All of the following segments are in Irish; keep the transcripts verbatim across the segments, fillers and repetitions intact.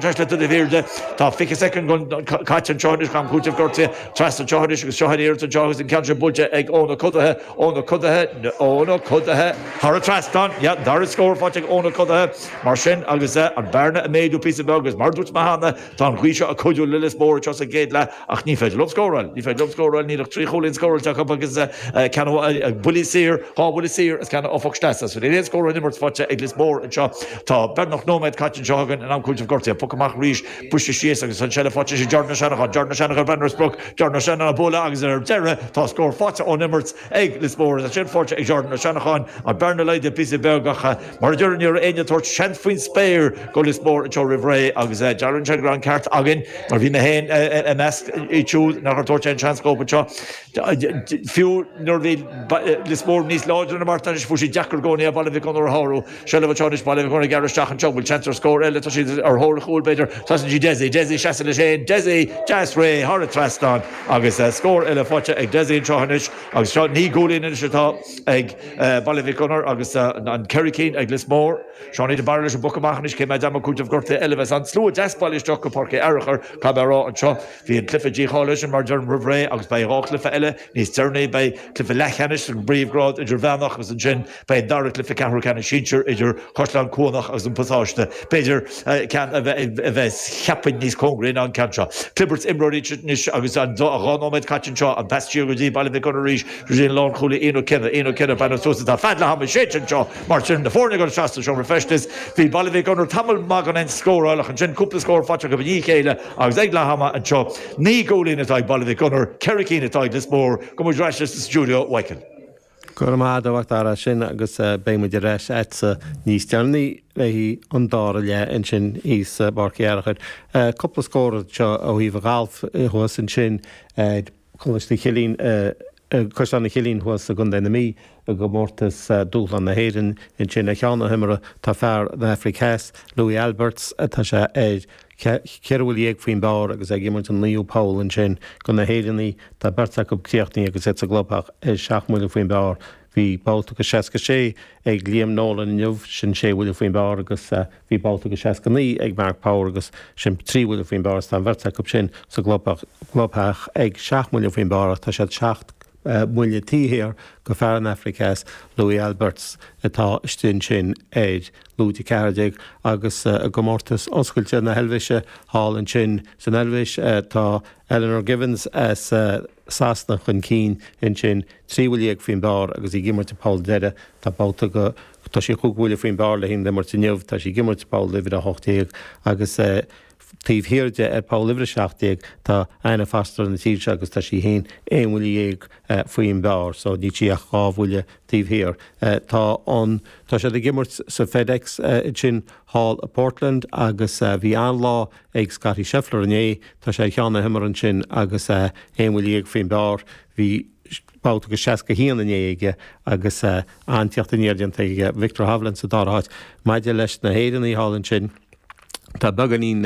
Le do bhirde tá fiche soicind caite anseo am cúiteamh gortaithe trasna anseo agus seo iarracht anseo agus an ceann sin buailte ag Eoin Ó Codaithe Eoin Ó Codaithe Eoin Ó Codaithe thar an trasnán dara scór faighte ag Eoin Ó Codaithe mar sin agus an bearna ag méadú píosa beag agus mar dúirt mé cheana tá an ghaoth seo ag cuidiú le Lios Mór anseo sa gcéad leath ach ní féidir leo scóráil ní féidir leo scóráil níl ach trí chúilín scóráilte acu agus ceann buille saor dhá bhuille saor is ceann ó phoc sleasa so níl aon scór ón imirt faighte ag Lios Mór anseo tá beagnach nóiméad caite anseo againn in am cúiteamh gortaithe poc amach arís buiste síos agus an seilbh faighte ag Jordan Ó Seanacháin Jordan Ó Seanacháin breathnú ar sprioc Jordan Ó Seanacháin bualadh agus ar deireadh tá scór faighte ón imirt ag Lios Mór sin faighte ag Jordan Ó Seanacháin an bearna laghdaithe píosa beag ach mar a deir ní raibh éinne ag tabhairt seans faoin spéir go Lios Mór anseo roimh ré agus dearann sé go an ceart againn mar bhí mé féin i measc siúd nach raibh ag tabhairt aon seans dóibh anseo fiú nuair bhí Lios Mór níos láidre na Martin fuair siad deacair i gcónaí Baile Mhic Gonair a shárú seilbh anseo anois Baile Mhic Gonair gearr isteach anseo bhfuil seans ar scór eile tá siad ar thóir chúil b'fhéidir tá sí Desi Desi seasa leis féin Desi deas réidh thar an trasnán agus scór eile faighte ag Desi anseo anois agus seo naoi gcúilín anois atá ag Baile Mhic Gonair agus an ceithre cinn ag Lios Mór. Seánie de Barra leis an bpoc amach anois cé mhéad am cúiteamh gortaithe eile bheas an slua deas bailithe isteach go Páirc Fhearchair caithfidh mé a rá anseo bhí an cluiche dícháilithe sin mar deirim roimh ré agus beidh dhá chluiche eile níos deireanaí beidh cluiche leathcheannais an bpríomhghrád idirmheánach agus ansin beidh an dara cluiche ceathrú ceannais sinsir idir Caisleán Cuanach agus an Pasáiste b'fhéidir ceann a bheith a bheith cheapfainn níos cóngaraí ná an ceann seo. Clibirt imreoirí anois agus an dhá nóiméad caite anseo an pas siar go dtí Baile Mhic Gonair arís go dtí an lánchúlaí Ian Ó Cionnaith Ian Ó Cionnaith breathnú suas atá fad le hama séidte anseo mar sin na foirne go seasta seomra feistis bhí Baile Mhic Gonair tamall maith gan aon scóráil ach ansin cúpla scór faighte acu i ndiaidh a chéile agus ag leath ama anseo naoi gcúilín atá ag Baile Mhic Gonair ceithre cinn atá ag Lios Mór go muid ar ais sa stiúideo Mhichael. Go raibh maith agat sin agus beidh muid ar ais agatsa níos deireanaí le an dara leath ansin thíos i bPáirc Fhearchair. Cúpla scór seo ó thaobh an ghailf thuas ansin Coláiste Chillín Caisleán an Chillín thuas i gContae na Mí i gcomórtas Dúshlán na hÉireann ansin ar cheann na himeartha tá fear na Afraice Theas Louis Alberts atá sé ar ceithre bhuille dhéag faoin bpar agus ag imirt an naoú poll ansin go na hÉireannaigh tá beirt acu críochnaithe agus iad sa gclubtheach ar seacht mbuille faoin bpar bhí babhta go seasca sé ag Liam Nolan inniu sin sé bhuille faoin bpar agus bhí babhta go seasca naoi ag Mark Power agus sin trí bhuille faoin bpar tá an bheirt acu sin sa gclubtheach ag seacht mbuille faoin bpar tá siad seacht mbuille taobh thiar go fear an Afraic Theas Louis Alberts atá istigh sin ar lúide ceathair déag agus i gcomórtas oscailte na hEilvéise thall ansin san Eilvéis tá Eleanor Givens as Sasana chun cinn ansin trí bhuille dhéag faoin bpar agus í ag imirt poll deiridh tá babhta go tá sí cúig bhuille faoin bpar le haghaidh an imirt inniu tá sí ag imirt poll uimhir a hocht déag agus taobh thiar de ar poll uimhir a seacht déag tá Anna Foster na tíre seo agus tá sí féin aon bhuille dhéag faoin bpar so níl sí ach dhá bhuille taobh thiar. Tá an tá siad ag imirt sa FedEx sin thall i Portland agus bhí an-lá ag Scottie Scheffler inné tá sé ar cheann na himeartha ansin agus aon bhuille dhéag faoin bpar bhí babhta go seasca haon inné aige agus an-teacht aniar déanta aige Viktor Hovland sa dara háit maidir leis na hÉireannaigh thall ansin Tá beagáinín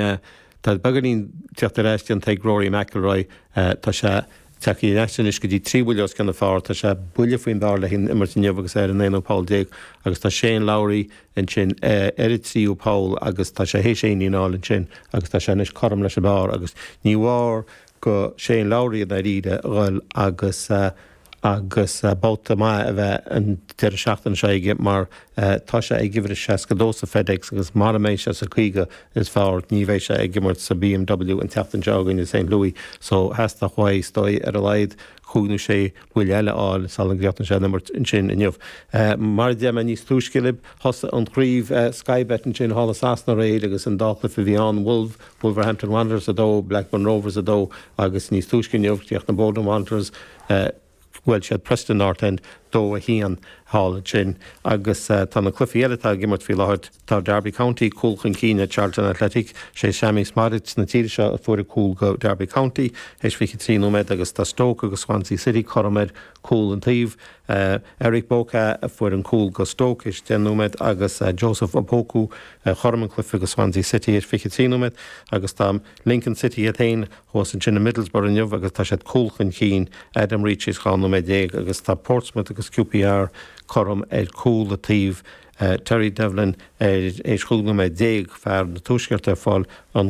tá beagáinín teacht ar ais déanta ag Rory McIlroy tá sé tagtha anois go dtí trí bhuille os cionn an phar tá sé buille faoin bpar le haghaidh an imirt inniu agus ar an aonú poll déag agus tá Shane Lowry ansin ar an tríú poll agus tá sé théis aon fháil ansin agus tá sé anois cothrom leis an bpar agus ní mhór go Shane Lowry i ndáiríre a dhul agus agus babhta maith a bheith an deireadh seachtaine seo aige mar tá sé ag uimhir seasca dó sa FedEx agus mara mbeidh sé sa caoga is fearr ní bheidh sé ag imirt sa BMW an tseachtain seo againn i St. Louis so theastódh uaidh is dóigh ar a laghad cúig nó sé buille eile a fháil sula gcríochnaíonn sé an imirt ansin inniu. Mar a deir mé níos túisce libh thosaigh an chraobh Sky Bet ansin thall i Sasana aréir agus an dá chluiche a bhí ann Wolf Wolverhampton Wanderers a dó Blackburn Rovers a dó agus níos túisce inniu chríochnaigh Bolton Wanderers bhuail siad Preston North End dó a haon thall ansin agus tá na cluichí eile atá ag imirt faoi láthair tá Derby County cúl chun cinn ar Charlton Athletic sé Sammie Szmodics na tíre seo a fuair cúl go Derby County théis fiche trí nóiméad agus tá Stoke agus Swansea City cothrom ar cúl an taobh Eric Boka a fuair an cúl go Stoke théis deich nóiméad agus Joseph Opoku chothrom an cluiche go Swansea City ar fiche trí nóiméad agus tá Lincoln City iad féin thuas ansin i Middlesbrough inniu agus tá siad cúl chun cinn Adam Reach dhá nóiméad déag agus tá Portsmouth agus agus Q P R cothrom ar cúl a taobh uh, Terry Devlin ar éis chúig nóiméad déag fear na Tuaisceart ar fáil an